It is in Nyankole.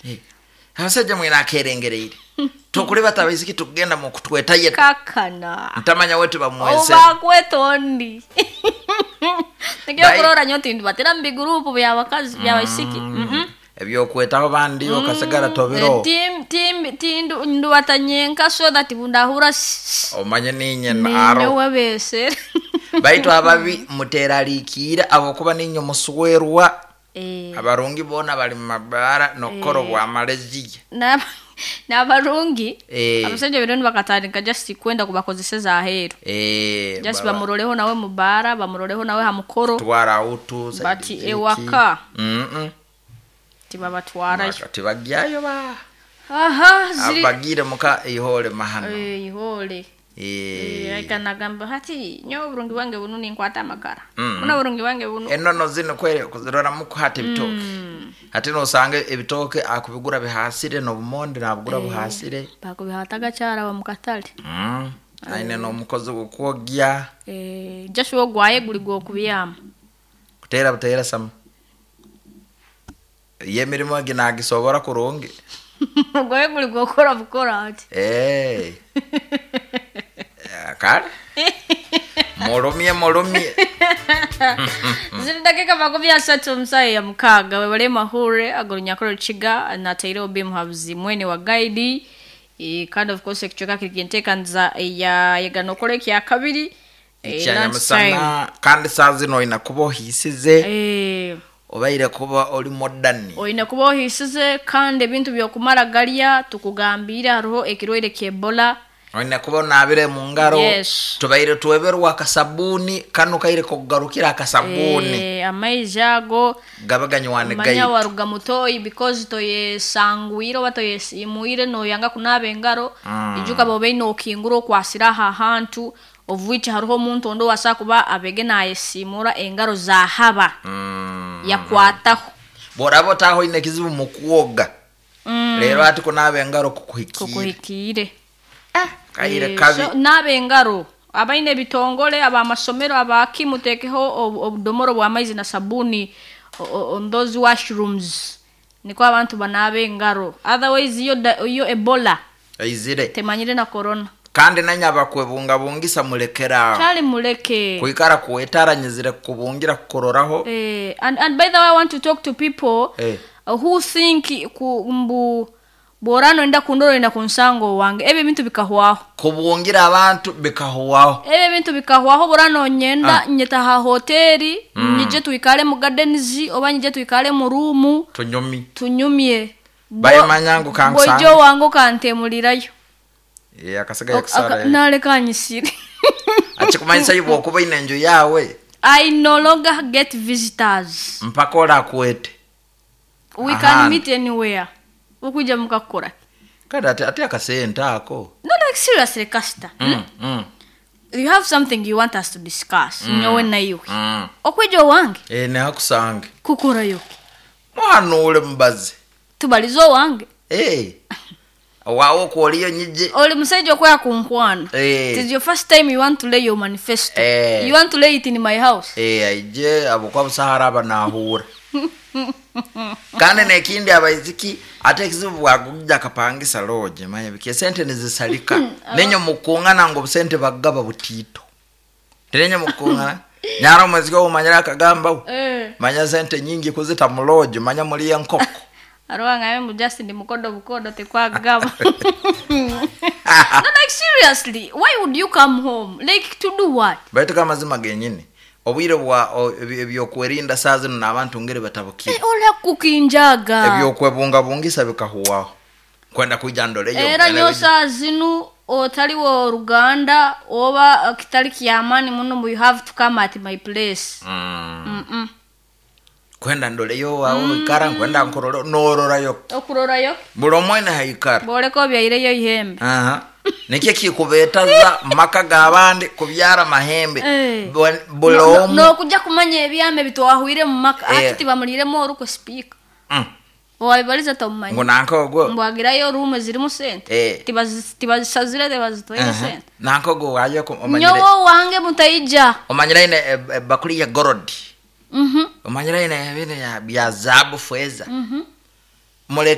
Eh, Abasajja mwine akerengereire. Tukuribata abaisiki tukugenda mu kutwetayeta. Kakana. Ntamanya wetu bamwese. Obakweta ondi. Nikyo Bai- kurora nyo tindu batera mu bigurupu by'abakazi by'abaisiki. Ebyokwetaho bandi okasigara tobiro. Tim tim tindu nduwata nyenka so that bundahura Omanye ninye naro. ninyowe besere. Baitu ababi muteralikiire abokuba ninye muswerwa. Eh. Abarungi boona bali mu mabaara n'okukora obwamaleziya. N'abarungi Eh. abasajja bino nibakatandika just kwenda kubakozeseza aheeru. Eh, Just baba- bamuroleho nawe mu baara, bamuroleho nawe ha mukoro. twara autu But side ewaka Mm-mm. tibabatwarayo. Maka tibagyayo ba Aha, ziri abagire muka ihole mahano Eh, ihole. Eh, Eh, nagamba hati nyowe oburungi bwange bunu ninkwata amakara. Mm. Buno oburungi bwange bunu. enono zino kwere kuziroramu kuhata ebitooke ate nosanga ebitooke akubigura bihasire n'obumonde nabugura buhasire. Bakubihata gakyaraba mu katale. Aine n'omukozi gw'okwogya. Eh, Joshua ogwaye guli gw'okubyama. Kuteera buteera sama ye emirimu egi nagisobora kurungi. Ogwaye guli gw'okukora bukora ati. Eh. Eh, kale mulumye mulumye. Ziri dakika 30 omusayi ya 6 webale mahure agolunyakoro kiga nataire obi muhabuzi mwene wa guide. Kandi of course ekicweka kiri kinteekaniza ya yeganokora ekya kabiri. Ekyanyamusana Lunchtime. kandi saa zino oina kuba ohiisize obaire kuba oli modern. Oine kuba ohiisize kandi ebintu byokumara garya tukugambire hariho ekirwaire ky'Ebola. Oine kuba onaabire mu ngaro. Yes. Tubaire tweberwa akasabuni kano kaire kugarukira akasabuni. Amaizi ago Gabe ganywane manya gaitu. waruga mutoyi because toyesangwire oba toyesimuire noyanga kunaaba engaro. Ijuka bobe nokingura okwasira aha hantu of which hariho omuntu ondi owasa kuba abege nayesimura engaro zahaba. Yakwataho. Bworaba otaho oine ekizibu mu kwoga. Rero ati kunaaba engaro kukuhikiire. Kukuhikiire. Kaire kabi. So, naaba engaro abaine ebitongole abamasomero abaki mutekeho obudomoro bw'amaizi na sabuni on those washrooms niko abantu banaaba engaro, otherwise iyo Ebola Eizire. temanyire na corona. Kandi nanye abakwebungabungisa mulekeraawo. Kyali muleke. Kwikara kwetaranyizire kubungira kukuroraho. And by the way I want to talk to people who think ku mbu bworano enda kundora enda kunsango wange ebyo bintu bikahwaho. Kubungira abantu bikahwaho. Ebyo bintu bikahwaho borano nyenda nyeta ha hoteli nyije tuikale mu gardens oba nyije tuikale mu room tunyumi tunyumye. Bayimanya ngu kansange. Bojo wangu kantemulirayo. Akasigaye kusara. Naleka nyisire. Achikumanyisa yubo okuba ine enju yawe. I no longer get visitors. Mpaka orakwete. We can meet anywhere. Ukuja mukakora. Kada ati akasente ako. No, like seriously, Kasta. You have something you want us to discuss. Nyowe na iwe. Okwejo wange. Nehakusange. Kukora yo. Muhanule mubazi. Tubalizo wange. Wawo kwoliyo nyije. Oli musajja okwaya kunkwana. It is your first time you want to lay your manifesto. You want to lay it in my house. Aije abokwa busahara abanahura. Kandi nekindi abaiziki ate ekizibu bwagujja akapangisa lodge manya biki esente nizisalika. Nenyo mukungana ngo busente bagaba butito. Nenyo mukungana. Nyara omwezi gwo omanyira akagamba. Manya sente nyingi kuzita mu lodge manya muri enkoko. Aroa ngaye mu just ndi mukodo bukodo tekwagaba. No, like seriously, why would you come home? Like to do what? Baitu kama mazima genyini. Obwire bwa ebyokwerinda saa zino n'abantu ngeri batabukire. Ola kukinjaga. Ebyokwebungabungisa bikahuwaho. Kwenda kuija ndoleyo. Era nyo saa zino otali wa Ruganda oba kitali kiamani muno, you have to come at my place. Kwenda ndoleyo wawe ikara, kwenda nkororo nororayo. Okurorayo. Buli omwene haikara. Boleko byaireyo ihembe. Nikyo kikubetaza maka g'abandi kubyara mahembe. Buli omu. N'okujja kumanya ebyama ebitwahwire mu maka. Ati tibamuliremu orukwe speaker. Wabibaliza tomumanyi. Ngu nanka ogwo. Mbwagirayo room ezirimu sente. Tibazisazire tebazitwaire sente. Nanka ogwo wayo omanyire. Nyowe wange mutaija. Omanyire ine bakuli ya gold. Omanyire ine ebintu bya zaabu feza. Muleke